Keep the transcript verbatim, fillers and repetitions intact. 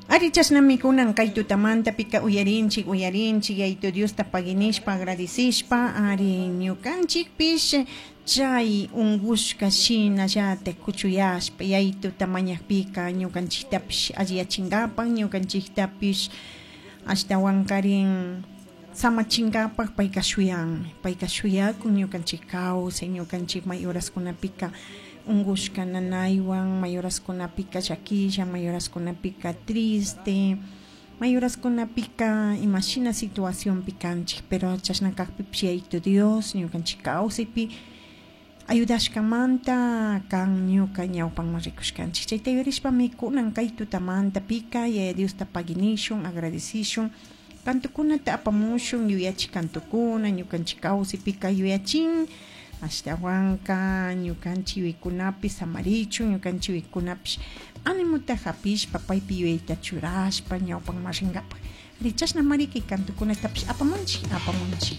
Ari chashnami kunan kay tutamanta pika uyarinchik uyarinchik Yayitu Diosta paginishpa agradecishpa ari ñukanchikpish chay ungushka shinallatak kuchuyashpa Yayituta mañakpika ñukanchiktapish alliyachinkapak ñukanchiktapish ashtawankarin samachinkapak payka shuyanmi payka shuyakun ñukanchik kawsay ñukanchik may horaskunapika ungushka nanaywan may horaskunapika llaquilla may horaskunapika triste may horaskunapika imashina situacionpi kanchik pero chashna kakpipish Yayitu Dios ñukanchik kawsaypi ayudashkamanta kan ñuka ñawpanman rikushkanchik chayta yuyarishpami kunan kay tutamanta pika Yaya Diosta paginishun agradecishun kantukunata apamushun yuyachik kantukuna ñukanchik kawsaypika yuyachin ashtawanka ñukanchik yuyaykunapi samarichun ñukanchik yuyaykunapish animuta hapishpa paypi yuyayta churashpa ñawpanman rinkapak ari chashnamari kay kantukunatapish apamunchik apamunchik.